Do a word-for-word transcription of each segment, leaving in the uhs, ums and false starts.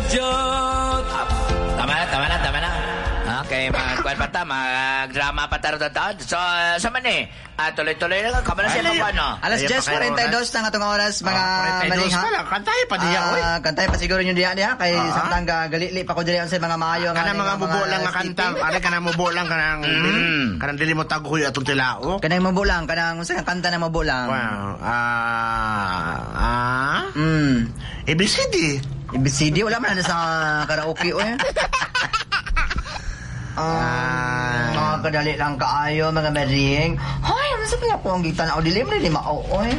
Jot. Ah, tama na, tama na, tama na. Okay, magkuhan pa ta, mag-drama pa taro taon. So, sa man eh. Ah, tuloy-tuloy na lang. Kamo na siya Ay, magkuhan, no? Alas Ayaw pa kayo ten forty-two na nga atong oras, mga Ah, forty-two maring, ha? Pa lang. Kantay pa diya, oy. Ah, kantay pa siguro yung diya diya kay Ah. samtang galili pa ko diri sa mga maayo nga Kana mga mubo lang nga kanta. Ari kana mubo lang kanang kanang dili mo taghoy atong tilao. Kanang mubo lang, kanang unsa nga kanta na mubo lang? Wow. Ah, ah. Mm. A B C D. A B C D wala man na sa karaoke, oy. Ah, mga kadali lang kaayo, mga maring. Hoy, ano sa kaya ko ang gitan ako dili man ni mao, oy.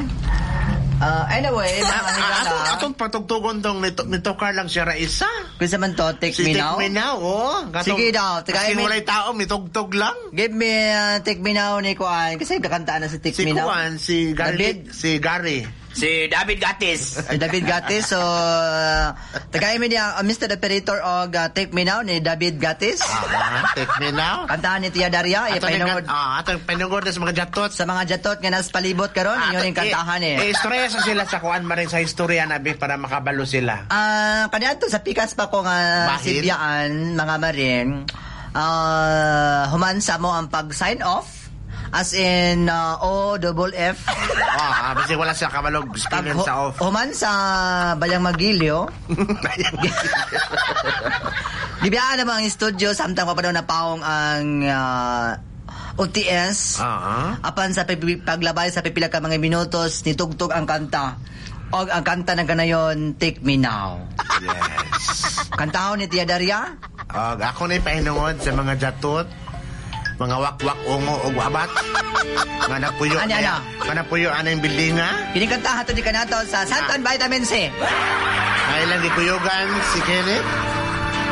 Ah, anyway, mga Ah, higala. atong atong patugtugon tong nito nitokar lang siya ra isa. Kinsa man to, Take Si Me Take Now? Me Now, oh. Katong- Sige daw, tagay Kasi me- walay tao, mitugtog lang. Give me, uh, Take Me Now ni Kuan. Kasi kakantaan na si Take Si Me Now. Kuan, si Gary, David. si Gary. Si David Gatis. Si David Gatis. So, uh, tagay mi niya, uh, Mister Operator og uh, Take Me Now ni David Gatis. Ah, Take Me Now. Kantahan ni Tia Daria. Ato Ipahinungod ah, atong panungod na sa mga jatot. Sa mga jatot nga nas palibot karon, inyo ning kantahan eh. Eh, istorya sa sila sa kuan maring sa istorya na bi para makabalo sila. Ah, kaniadto sa pikas pa ko nga Bahin? sibyaan, mga maring. Ah, human sa mo ang pag sign off as in uh, O double F. Ah, basta wala siya kabalog Pag spelling hu- sa off. Human sa Bayang Magilyo, gibiyaan naman ang studio samtang pa pa daw napaong ang ah, O T S. Ah. Apan sa pipi- paglabay sa pipila ka mga minutos, nitugtog ang kanta. Og ang kanta na ganayon, Take Me Now. Yes. Kantahon ni Tia Daria. Og ako na pahinungod sa mga jatot, mga wakwak, ungo ug abat. Nga napuyo. Ano, ano? Nga napuyo ana yung building ha. Kini kantahan to di kanato sa Santan Vitamin C. Nga ilang gikuyugan si Kenneth.